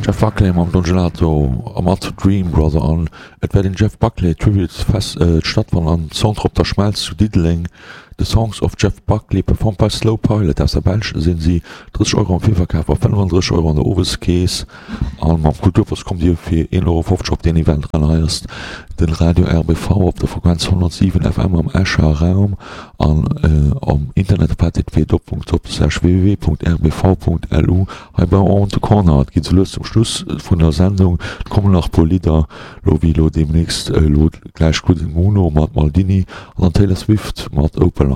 Jeff Buckley mam Don Gelato a mat Dream Brother an et wäert een Jeff Buckley Tribute Fest stattfannen am Centre Op der Schmelz zu Diddeleng. The Songs of Jeff Buckley performed by Slow Pilot aus der Belsch sinn si 30 Euro am Virverkaf a 35 Euro an der Oweskeess. An mam Kulturpass kommt dir fir 1,50 Euro op deen Event eran. Hei ass den Radio RBV op der Frequenz 107 FM am Escher Raum an am Internet op http://www.rbv.lu. Hei bei On The Corner. Et geet sou lues zum Schluss vun der Sendung. Et kommen nach e puer Lidder lo wéi lo deemnächst elo gläich Good Mono mat Maldini an dann Taylor Swift mat Opalite.